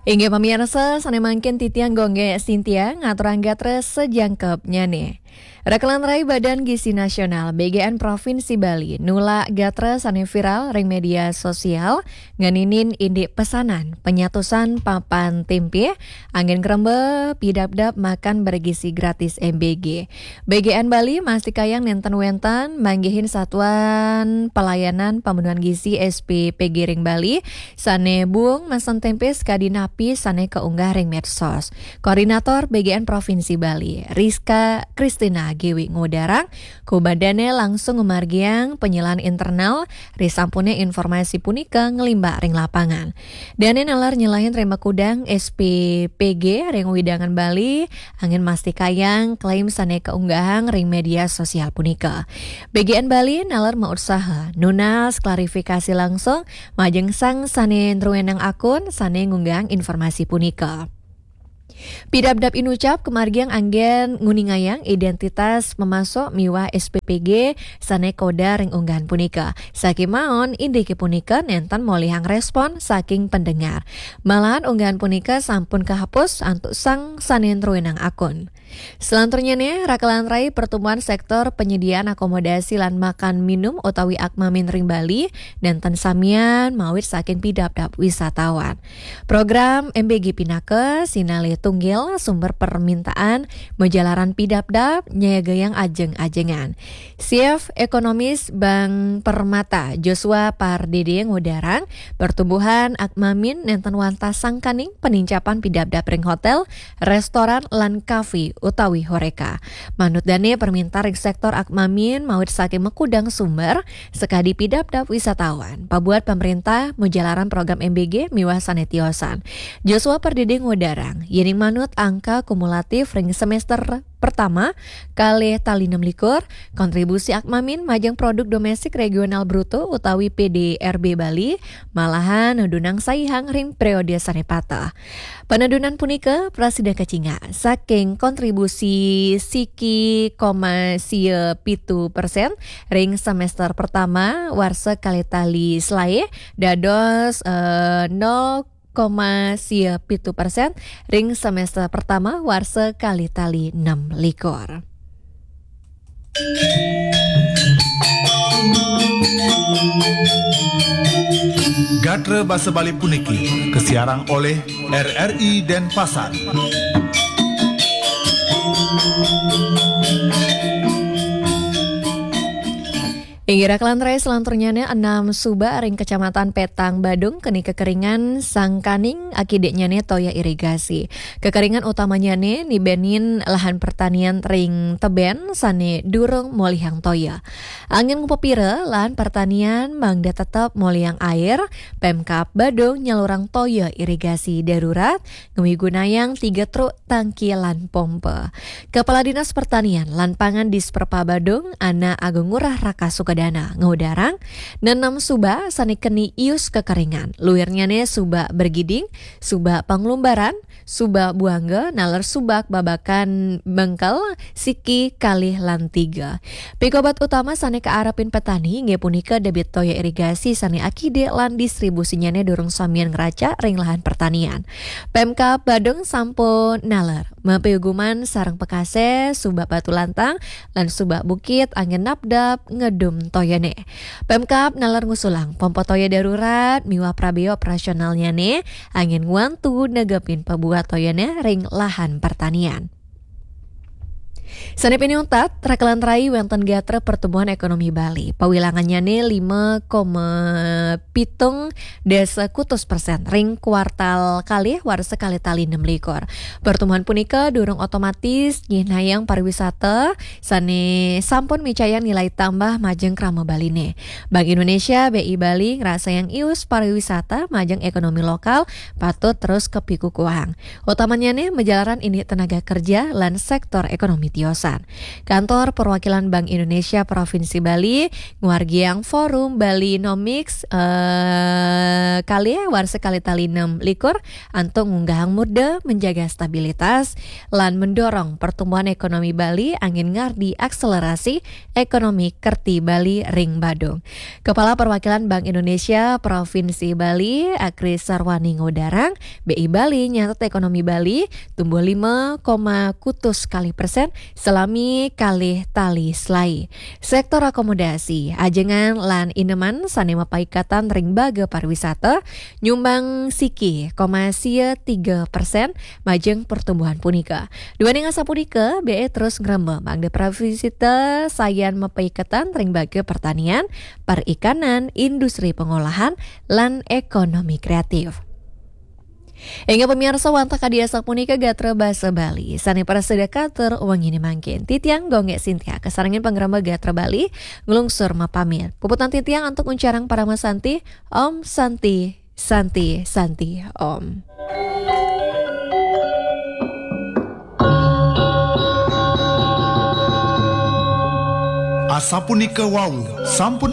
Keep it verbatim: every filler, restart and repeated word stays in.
Inggih pamirsa, sané mangkin titiang Gonggé Sintia ngaturang gatra sajangkepnyané. Rakelan rai Badan Gizi Nasional B G N Provinsi Bali nulak gatra sané viral ring média sosial ngeninin indik pesanan penyatusan papan timpih anggén ngrembé pidabdab makan bergizi gratis M B G. B G N Bali mastikayang nénten wénten manggihin satuan pelayanan pemenuhan gizi S P P G ring Bali sané buung mesen timpih sakadi napi sané kaunggah ring medsos. Koordinator B G N Provinsi Bali, Rizka Kristina Giwi ngudarang, kumadané langsung ngumargiang penyelaan internal risampuné informasi punika nglimbak ring lapangan. Dané nalar nyelain ring makudang S P P G ring wewidangan Bali, anggén mastikayang klaim sané kaunggahang ring média sosial punika. B G N Bali nalar mautsaha nunas klarifikasi langsung majeng sang sané druénang akun sané ngunggahang informasi punika. Pidabdab inucap kamargiang anggén nguningayang identitas pamasuk miwah S P P G sané kaudar ring unggahan punika. Sakémaon indiké punika nénten molihang respon saking pendengar. Malahan unggahan punika sampun kahapus antuk sang sané druénang akun. Salanturnyané, rakelan rai pertumbuhan sektor penyediaan akomodasi lan makan minum utawi Akmamin ring Bali nénten samian mawit saking pidabdab wisatawan. Program M B G pinaka sinalih tunggil sumber permintaan majalaran pidabdab nyayagayang ajeng-ajengan. Chief Ekonomis Bank Permata, Joshua Pardede ngudarang, pertumbuhan Akmamin nénten wantah sangkaning penincapan pidabdab ring hotél, restoran, lan kafe utawi horeca. Manut dané, permintaan ring sektor Akmamin mawit saking makudang sumber, sakadi pidabdab wisatawan, pabuat pamréntah majalaran program M B G miwah sané tiosan. Joshua Pardede ngudarang, yéning manut angka kumulatif ring semester pertama kalih tali enam likur, kontribusi Akmamin majeng produk domestik regional bruto utawi P D R B Bali malahan nedunang saihang ring periode sané pateh. Panedunan punika prasida kacingak saking kontribusi siki koma sia pitu persen ring semester pertama warsa kalih tali selaé dados, eh, nol koma sia pitu persen ring semester pertama warsa kalih tali enam likur. Gatra basa Bali puniki kasiarang olih R R I Denpasar. Inggih rakelan rai, salanturnyané enam subak ring Kecamatan Petang Badung keni kekeringan sangkaning akidiknyané toya irigasi. Kekeringan utamanyané nibenin lahan pertanian ring tebén sané durung molihang toya. Anggén ngupapira lahan pertanian mangda tetep molihang air, Pemkab Badung nyalurang toya irigasi darurat ngamigunayang tiga truk tangki lan pompa. Kepala Dinas Pertanian lan Pangan Disperpa Badung, Ana Agung Ngurah Raka Sukadana, ngudarang, nenem subak sané keni ius kekeringan. Luirnyané subak Bergiding, subak Panglumbaran, subak Buangga, naler subak Babakan Bengkel, siki kalih lan tiga. Pikobat utama sané kaarepin petani inggih punika debit toya irigasi sané akidik lan distribusinyané durung samian ngracak ring lahan pertanian. Pemkab Badung sampun naler mapiuguman sareng Pekasé, subak Batu Lantang, lan subak Bukit anggén napdap ngedum toyané. Pemkab naler ngusulang pompa toya darurat miwah prabéa operasionalnyané anggén ngwantu negepin pabuat toyané ring lahan pertanian. Sané pinih untat, rakelan rai wénten gatra pertumbuhan ékonomi Bali. Pawilangannyané lima koma pitung dasa kutus persen ring kuartal kalih warsa kalih tali enam likur. Pertumbuhan punika durung otomatis nyihnayang pariwisata sané sampun micayang nilai tambah majeng krama Baliné. Bank Indonesia, B I Bali, ngrasayang ius pariwisata majeng ékonomi lokal patut terus kapikukuhang. Utamannyané majalaran indik tenaga kerja lan sektor ékonomi tiosan. Kantor Perwakilan Bank Indonesia Provinsi Bali nguargiang Forum Bali Nomics eh, kali warsa kali tali enam likur antuk ngunggahang murda menjaga stabilitas lan mendorong pertumbuhan ekonomi Bali angin ngardi akselerasi ekonomi kerti Bali ring Badung. Kepala Perwakilan Bank Indonesia Provinsi Bali, Akri Sarwani ngudarang, B I Bali nyatet ekonomi Bali tumbuh lima koma kutus kali persen selami kalih tali selai. Sektor akomodasi, ajengan lan ineman sane mapaikatan ring baga pariwisata nyumbang siki koma sia tiga persen majeng pertumbuhan punika. Duaning asapunika, B I terus ngrembag mangda pariwisata sayan mapaiketan ring baga pertanian, perikanan, industri pengolahan, lan ekonomi kreatif. Inggih pamiarsa, wantah kadi asapunika gatra basa Bali sane prasida katur wengine mangkin. Titiang Gung Gek Sintia kasarengin pangrembag gatra Bali nglungsur mapamit. Puputang titiang antuk uncarang parama santi. Om Santi, Santi, Santi, Om. Asapunika wau sampun